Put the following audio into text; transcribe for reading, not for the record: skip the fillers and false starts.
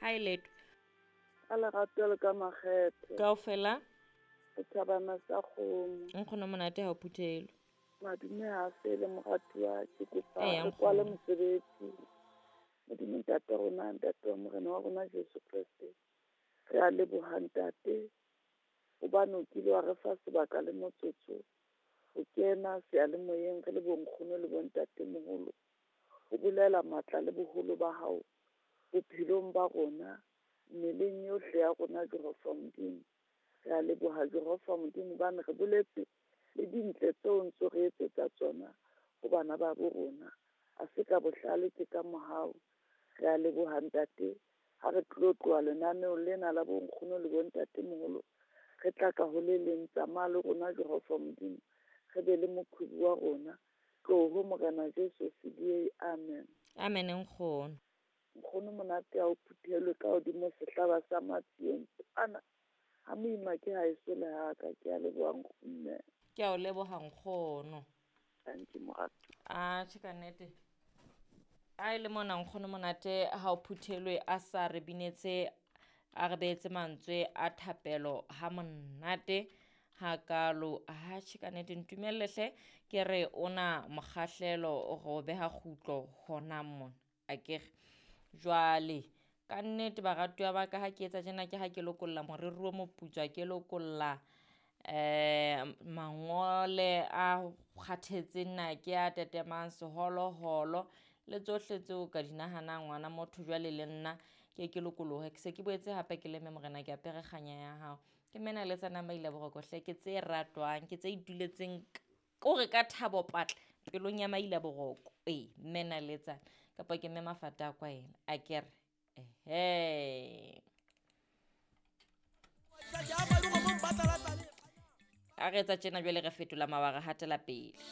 Ha e letho. Ka lerato le ka makgethe. Kaofela. Setjhabana sa kgomo. Nkgono monate ha o phuthelwe. Madume ha fele moratuwa, ke kopa Eya, re kwale nkgono. mosebetsi. Modimo ntate rona, ntate wa Morena wa rona Jesu Kreste. Re a leboha ntate, hobane o kile wa re fa sebaka le motsotso ho kena seyalemoyeng re le bonkgono le bontatemoholo. Ho bolela matla le boholo ba hao bophelong ba rona, mmeleng yohle ya rona Jehova Modimo. Re a leboha Jehova Modimo hobane re boletse le dintle tseo o ntso re etsetsa tsona ho bana ba bo rona. Ha se ka bohlale, ke ka mohau. Re a leboha ntate, ha re tlo tloha lenaneong lena la bonkgono le bontatemoholo, re tla ka ho le leng, tsamaya le rona Jehova Modimo, re be le moqhubu wa rona. Tloho Morena Jesu CDA, amen. Amen nkgono. Nkgono monate ha o phuthelwe ka hodimo sehlaba sa matsieng kwana. Ha moima ke haeso le haka, ke a leboha mme. Ke a o leboha nkgono. Thank you moratuwa. Atjhe ka nnete. A e le mona nkgono monate ha o phuthelwe a sa re binetse, a re beetse mantswe a thapelo ha monate hakalo. Atjhe ka nnete ntumelle hle ke re ona mokgahlelo re o beha kgutlo hona mona. Akere jwale ka nnete baratuwa ba ka ha ke etsa tjena ke ha ke lokolla moriri o moputswa, ke lokolla mangole a kgathetseng na ke a tetemang seholoholo le tsohle tseo ka di nahanang ngwana motho jwale le nna ke ke lokolohe. Ke se ke boetse hape ke leme morena, ke apere kganya ya hao. Ke mena le tsena maila boroko hle, ke tse ratwang, ke tse ituletseng kore ka thabo patla pelong ya maila boroko. Ee, mena le tsana kapa ke mme mafata a kwa ena akere. Ehe. A re etsa tjena jwale re fetola mabaka hatela pele.